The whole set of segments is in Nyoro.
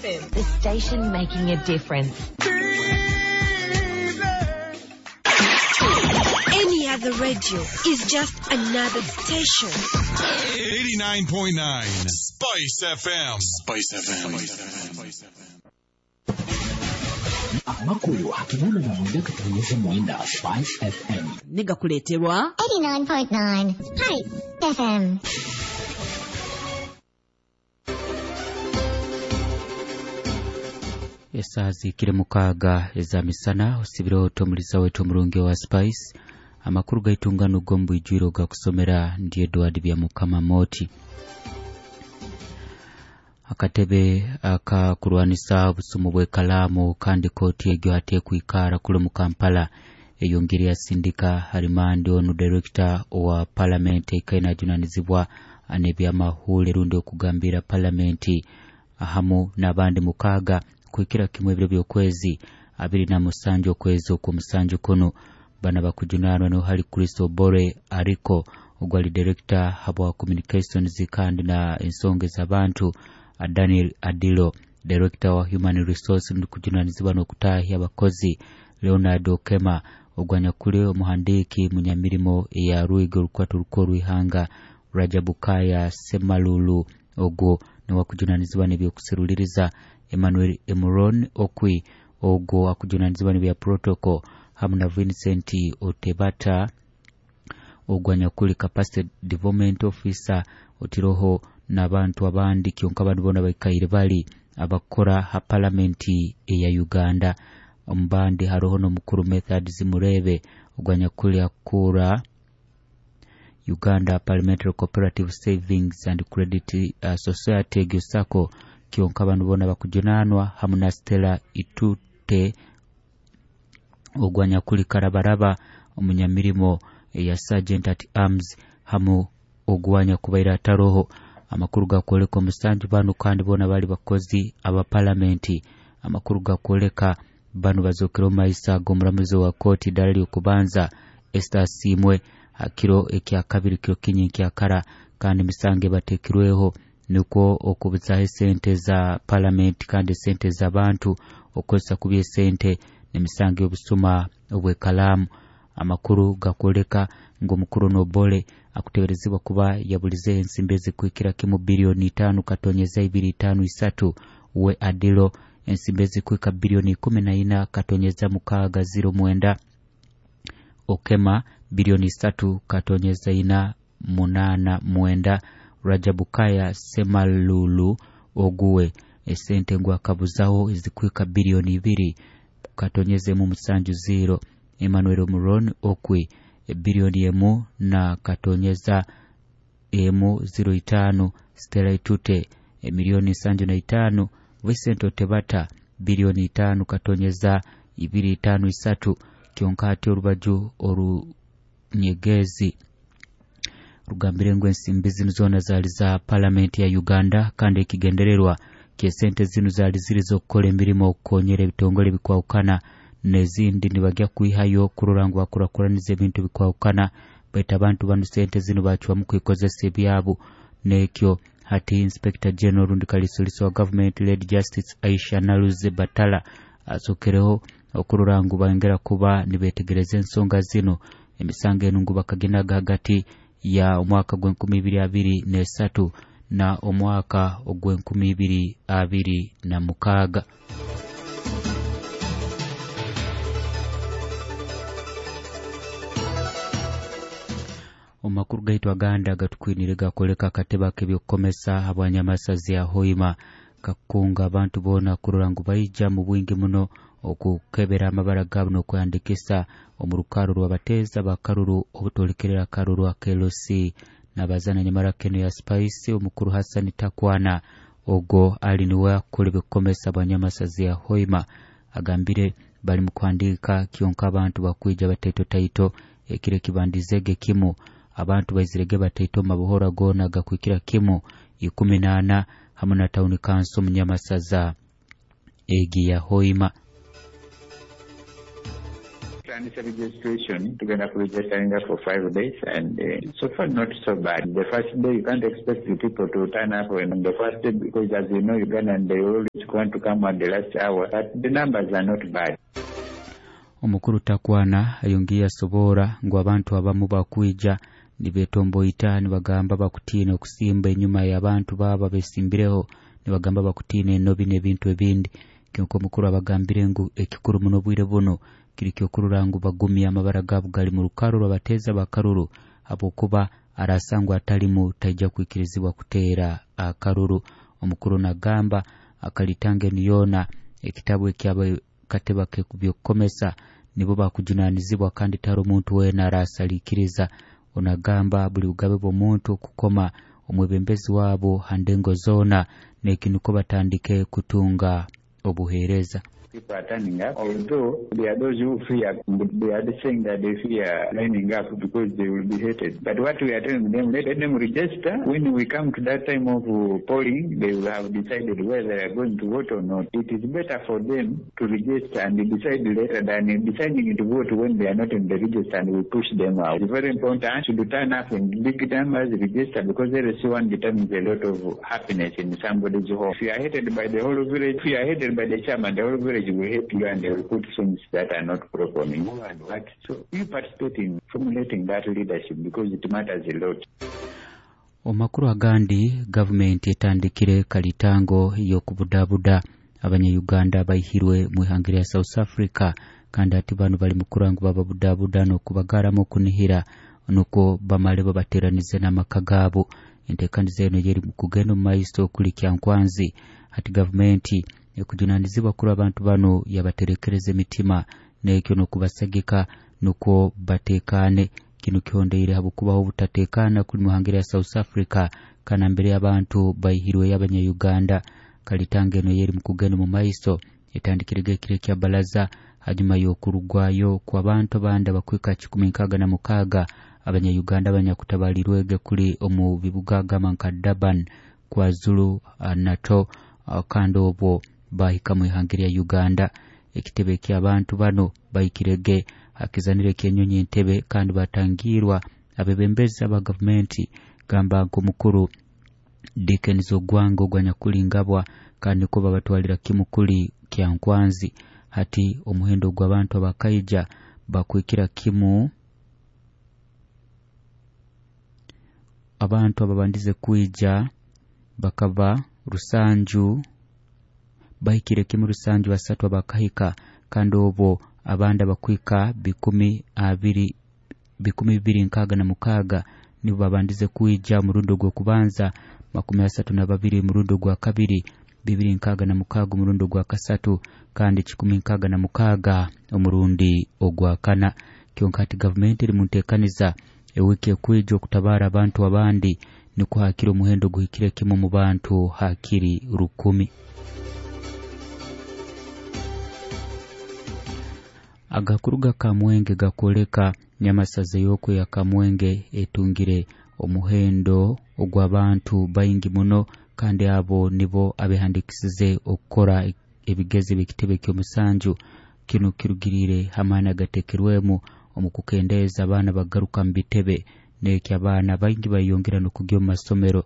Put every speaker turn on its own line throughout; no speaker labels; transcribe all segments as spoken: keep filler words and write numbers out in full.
The station making a difference.
Any other radio is just another station.
eighty-nine point nine Spice F M. Spice F M. Spice F M.
Amakuru hakinana na mwenda katonyeze mwenda Spice F M.
Niga kuleterwa
eighty-nine point nine Spice F M.
Esaa zikire mukaaga eza misana osibire otomuliza wetu omurungi wa Spice. Amakuru gaitungano gombu ijwiro gakusomera ndi Edward Byamukama Moti. Akatebe akakurwanisa obusumu bw'ekalamu kandi kooti egyo ate kwikara kule mu Kampala eyongere yasindika harimandi onu director wa parliament ekaina ajunanizibwa n'ebyamahule rundi okugambira parliament ahamu n'abandi mukaaga kuikira kimwe ebiro by'okwezi abiri na musanju okwezi okw'omusanju kuno bana bakujunanwa no hali Kristo Bore ariko ogwali director habwa communications kandi na ensonga z'abantu Daniel Adilo director wa human resource ndikujunanizibwa n'okutahya abakozi Leonard Okema ogwanyakule omuhandiki munyamirimo ya Ruigo Rukwatu Rukoru Ihanga Rajabukaya Semalulu ogwo niwakujunanizibwa n'ebyokuseruliriza Emmanuel Emuron Okwi ogwo akujunanizibwa n'ebya protocol hamu na Vincent Otebata ogwanyakuli capacity development officer otiroho n'abantu abandi kyonka abantu bona baikaire bali abakora ha parliament eya Uganda. Ombandi haroho n'omukuru Method Zimurebe ogwanyakuli akura Uganda Parliamentary Cooperative Savings and Credit uh, Society Gyosako kyonka abantu bona bakujunanwa hamu na Stella Itute ogwanyakuli karabaraba omunyamirimo ya Sergeant at Arms hamu ogwanya kubaira taroho. Amakuru gakwoleka omusanju bano kandi bona bali bakozi aba parliament. Amakuru gakwoleka bano bazokera omaisa g'omulamuzi wa kooti ddala ly'okubanza Esther Simwe hakiro ekya kabiri kiro kinyi nkyakara kandi misange batekirweho nukwo okubuzaho esente za parliament kandi esente z'abantu okozesa kubi esente n'emisango y'obusuma obw'ekalamu. Amakuru gakwoleka ngu omukuru Nobole akuteberezibwa kuba yabulize ensimbi ezikuhikira kimu bilioni itaano katonyeza ibiri itaano isatu we Adilo ensimbi ezikuhika bilioni ikumi na ina katonyeza mukaaga ziro mwenda Okema bilioni isatu katonyeza ina munana mwenda Rajabukaya Semalulu oguwe esente ngu akabuzaho ezikuhika bilioni ibiri katonyeza emu musanju ziro Emmanuel Muron Okwi bilioni emu na katonyeza emu ziro itano Stella Itute milioni sanju na itano Vincent Otebata bilioni itano katonyeza ibiri itano isatu kyonkati orubaju orunyegezi rugambire ngu ensimbi zino zona zali za parliament ya Uganda kandi ekigendererwa ky'esente zino zali ziri z'okukola emirimo okukonyera ebitongole bikwawukana n'ezindi nibajya kwihayo kurora ngu bakurakuraniza ebintu bikwawukana baitu abantu bano sente zino bacwamu kwikozesa ebyabo. N'ekyo hati Inspector General rundi kalisolisi wa government led Justice Aisha Naluze Batala asokereho okurora ngu bangera kuba nibetegereza ensonga zino. Emisango eno ngu bakagenaga hagati ya omwaka gw'enkumi ibiri abiri n'esatu na omwaka ogw'enkumi ibiri abiri na mukaaga. Omakuru gaitu aganda gatukwinire gakoleka akatebe ak'ebyokukomesa habwanyamasazi ya Hoima kakunga abantu boona kurora ngu baija mu bwingi muno okukebera amabara gaabo n'okweyandikisa omu rukaro rw'abateeza bakaruru obutolekerera akaruru aka L C n'abazana nyamara keno ya Spice omukuru Hassan Takwana ogwo ali niwe akora ebyokukomesa bwanyamasazi ya Hoima agambire bali mu kuhandiika kyonka abantu bakwija bataito taito ekire kibandizege kimu abantu baizirege bataito mabuhora gona gakwikira kimu ikumi na ana hamu na town council munyamasaza egi ya Hoima.
Tutandise registration tugenda kuregisteringa for five days and uh, so far not so bad. The first day you can't expect the people to turn up on the first day because as you know Ugandan they always want to come at the last hour but the numbers are not bad.
Omukuru Takwana ayongiye asobora ngu abantu abamu bakwija nibetomboita nibagamba bakutiina okusimba enyuma y'abantu baba besimbireho nibagamba bakutiina enobi n'ebintu ebindi. Kyonka omukuru abagambire ngu ekikuru muno obwire buno kiri kyokurura ngu bagumya amabara gaabo gali mu rukaro rw'abateeza bakaruru habwokuba arasangwa atalimu taija kwikirizibwa kuteera akaruru. Omukuru nagamba akalitanga enu yoona ekitabu ekyaba kateba kebyokukomesa nibo bakujunanizibwa kandi taro omuntu weena arasalikiriza. Onagamba buli bugabe bw'omuntu okukoma omwebembezi wabo handengo zona nekinuko batandike kutunga obuheereza.
People are turning up, although there are those who fear, they are saying that they fear lining up because they will be hated. But what we are telling them, let them register. When we come to that time of polling, they will have decided whether they are going to vote or not. It is better for them to register and decide later than deciding to vote when they are not in the register and we push them out. It's very important to turn up in big numbers, register, because L C one determines a lot of happiness in somebody's home. If you are hated by the whole village, if you are hated by the chairman, the whole village will hate you and they will put things that are not proper on you and what. So you participate in formulating that leadership because it matters a lot.
Omakuru agandi, gavumenti etandikire kalitango y'okubudabuda abanya-Uganda baihirwe mu ihanga lya South Africa kandi ati bano bali mukurangu bababudabuda n'okubagaramu okunihira nukwo bamale babateranize n'amaka gaabo. Enteekaniza eno yeri kugenda omu maiso okuli Kyankwanzi. Ati gavumenti ekujunanizibwa kuri abantu bano yabaterekereza emitima nekyo n'okubasagika nukwo batekane. Kino kihondeire habwokubaho obutatekana kuli muhangire ya South Africa kana mbere y'abantu baihirwe y'abanya-Uganda. Kalitanga eno yeri mukugenda mu maiso etandikirege ekiro kya balaza hanyuma y'okurugwayo kw'abantu abandi abakwika kikumi nkaaga na mukaaga abanya-Uganda abanyakutabalirwege kuli omu bibuga gamba nka Durban, KwaZulu Natal kandi obwo bahika mu ihanga lya Uganda. Ekitebe ky'abantu bano bahikirege hakizanire ekyenyonyi Entebbe kandi batangirwa abebembezi aba gavumenti gamba nk'omukuru Dickens Ogwanga ogwanyakulingabwa kandi niko babatwalira kimu kuli Kyankwanzi. Hati omuhendo gw'abantu abakaija bakwikira kimu abantu ababandize kwija bakaba rusanju bahikire kimu rusanju basatu abakahika kandi obwo abandi abakwika bikumi abiri bikumi bibiri nkaaga na mukaaga nibo babandize kwija murundi ogw'okubanza, makumi asatu na babiri murundi ogwa kabiri, bibiri nkaaga na mukaaga omurundi ogwa kasatu kandi kikumi nkaaga na mukaaga omurundi ogwa kana. Kyonka ati gavumenti eri mu nteekaniza ewiki ekwija okutabara abantu abandi nikwo hakiri omuhendo guhikire kimu mu bantu hakiri rukumi. Agakuru ga Kamwenge gakoleka nyamasaza yoko ya Kamwenge etungire omuhendo ogw'abantu baingi muno kandi abo nibo abehandikisize okukora ebigezi by'ekitebe ky'omusanju. Kino kirugirire hamaani agatekerwemu omu kukendeeza abaana bagaruka mu bitebe nekyo abaana baingi bayongera n'okugya omu masomero.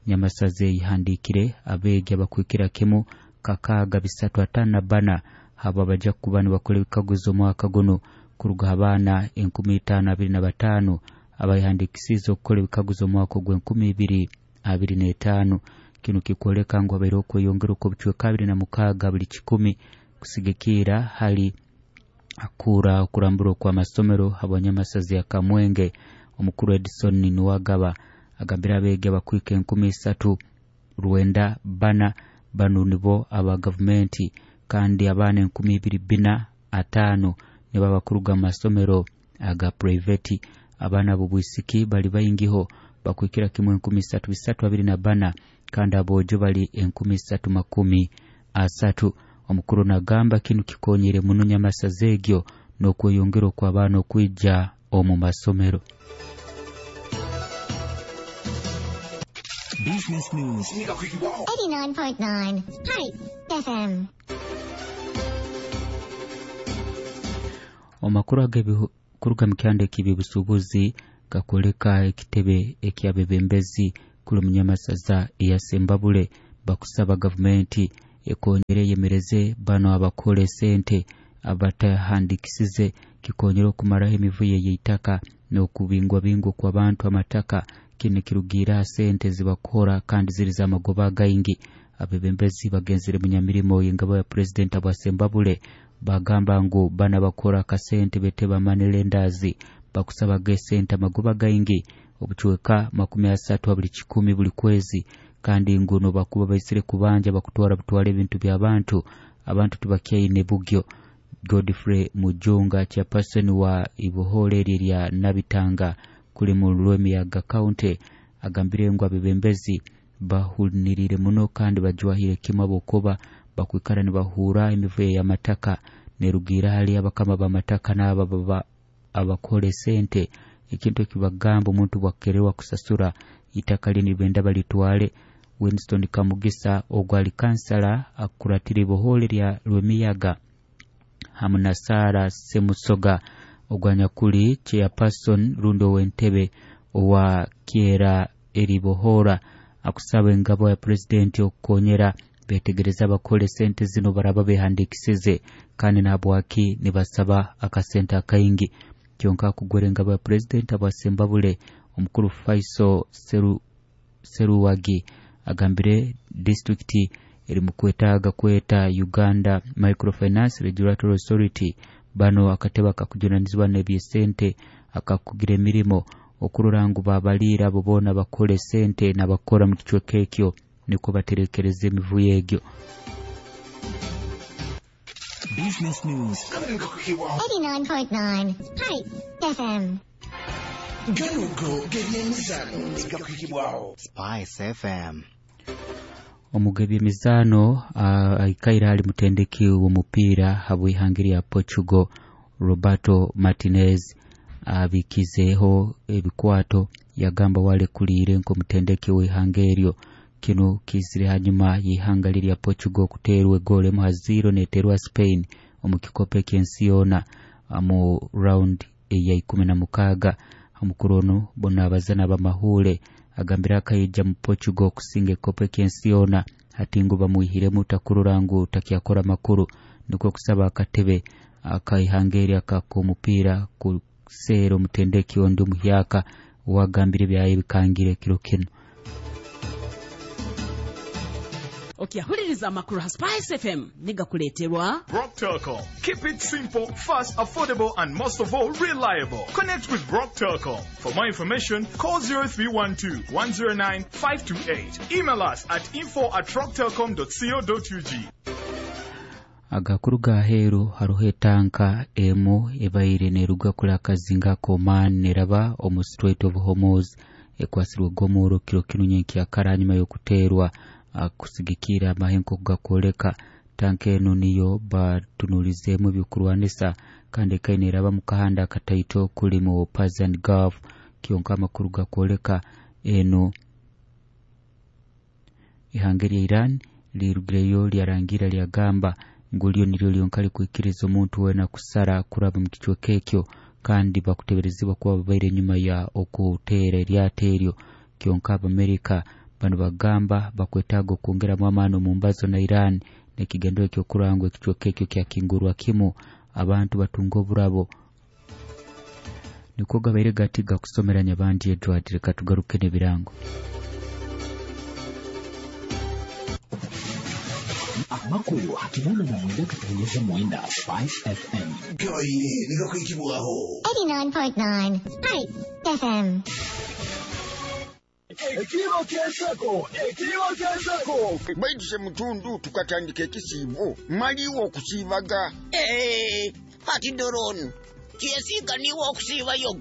Nyamasaza eyihandikire abeegi abakwikira kimu kakaaga bisatu ataano na bana abo abaja kuba nibakora ebikaguzo omwaka guno kuruga abaana enkumi itaano abiri na bataano abayihandikisize okukora ebikaguzo omwaka ogw'enkumi ibiri abiri n'etaano. Kino kikwoleka ngu habaire okweyongera okw'obucweka abiri na mukaaga buli kikumi kusigikira hali akura okurambura okw'amasomero habwanyamasaza ya Kamwenge. Omukuru Edison Nuwagaba agambira abeegi abakwika enkumi isatu rwenda bana bano nibo aba gavumenti kandi abaana enkumi ibiri bina ataano nibo abakuruga mu masomero aga private. Abaana b'obwisiki bali baingiho bakwikira kimu enkumi isatu bisatu abiri na bana kandi aboojo bali enkumi isatu makumi asatu. Omukuru nagamba kinu kikonyere muno nyamasaza egyo n'okweyongera okw'abaana okwija omu masomero.
Business News
eighty-nine point nine Spice F M.
Omakuru ag'ebikuruga mu kyanda eky'ebyobusuubuzi gakwoleka ekitebe eky'abebembezi kuli munyamasaza eya Sembabule bakusaba gavumenti ekonyere eyemereze bano abakora esente abatahandikisize kikonyere okumaraho emivuyo y'eitaka n'okubingwabingwa kw'abantu amataka. Kinu kirugira sente zibakora kandi ziri z'amagoba gaingi. Abebembezi bagenzere munyamirimo y'engabo ya president abwa Sembabule bagamba ngu bana bakora akasente beteba money lenders bakusaba gesente amagoba gaingi obucweka makumi asatu buli kikumi buli kwezi, kandi ngu no bakuba baisire kubanja bakutwara butwara ebintu by'abantu abantu tubakyaine bugyo. Godfrey Mujunga chairperson wa ibohole lya Nabitanga kuli mu Lwemiyaga County agambire ngu abebembezi bahunirire muno kandi bajwahire kimwe abokuba bakwikara nibahura emivuyo y'amataka nerugira hali abakama b'amataka n'aba baba abakole sente ekintu ekibagamba omuntu bwakererwa kusasura itaka lini benda balitwale. Winston Kamugisa ogwali kansala akuratira ibohole lya Lwemiyaga hamu na Sara Semusoga ogwanyakuli chairperson rundo w'entebe owa Kiera eribohora akusaba engabo ya president okukonyera betegereza abakole sente zino baraba behandikisize kandi nabwaki nibasaba akasente akaingi. Kyonka kugwera engabo ya president abwa Sembabule omukuru Faiso Seru Seruwagi agambire district eri mukwetaaga kweta Uganda Microfinance Regulatory Authority bano akateba kakujunanizibwa n'ebyesente akakugira emirimo okurora ngu babalira abo boona bakole sente n'abakora mu kicweka ekyo niko baterekereza emivuyo egyo.
Business News
eighty-nine point nine Spice F M.
Spice F M.
Omugebi emizaano aikaire ali mutendeki w'omupiira habw'ihanga lya Portugal Roberto Martinez abikizeeho ebikwato yagamba walekuliire nk'omutendeki w'ihanga eryo. Kino kizire hanyuma y'ihanga lya Portugal kuteerwa egoolo emu ha ziro neeterwa Spain omu kikopo eky'ensi yoona mu round eya ikumi na mukaaga. Omukuru ono bona abazana b'amahuule agambire akaija mu Portugal kusinga ekikopo eky'ensi yoona hati ngu bamwihiremu takurora ngu takyakora makuru, nikwo kusaba akatebe akaihanga eri akak'omupiira kuseera omutendeki ondi omuhyaka wagambire byaye bikangire kiro kino.
Okyahuliriza amakuru ha Spice F M nigakuleeterwa
Rock Telcom. Keep it simple, fast, affordable and most of all reliable. Connect with Rock Telcom. For more information, call zero three one two, one zero nine, five two eight. Email us at info at rocktelcom dot co dot U G.
Agakuru ga heeru haruho etanka emu ebaire neruga kuli akazinga k'Oman neraba omu Strait of Hormuz ekwasirwe gomuro kiro kinu nyenkyakara hanyuma y'okuteerwa kusigikira amahenko gakwoleka. Tanka eno niyo batunulizeemu ebyokurwanisa kandi ekaine eraba mu kahanda akataito kuli mu Persian Gulf. Kyonka amakuru gakwoleka eno ihanga lya Iran lirugireyo lyarangira lyagamba ngu lyo niryo lyonka likwikiriza omuntu weena kusara kuraba mu kicweka ekyo kandi bakuteberezibwa kuba babaire enyuma ya okuteera eryato eryo. Kyonka Abamerika bano bagamba bakwetaaga okwongeramu amaani omu mbazo na Iran n'ekigendero ekyokurangwa ekicweka ekyo kyakingurwa kimu abantu batunga oburabo. Nikwo gabaire gati gakusomera Nyabandi Edward. Reka tugaruke n'ebirango.
Amakuru hakinana na mwenda katonyeza mwenda Spice F M.
eighty-nine point nine Spice F M.
Ekiro ky'enseko, ekiro ky'enseko.
Baiduse mutundu tukatandika ekisiibo maliwo okusiibaga.
Eh, ati Doron, kyesiiga niwe okusiibayo.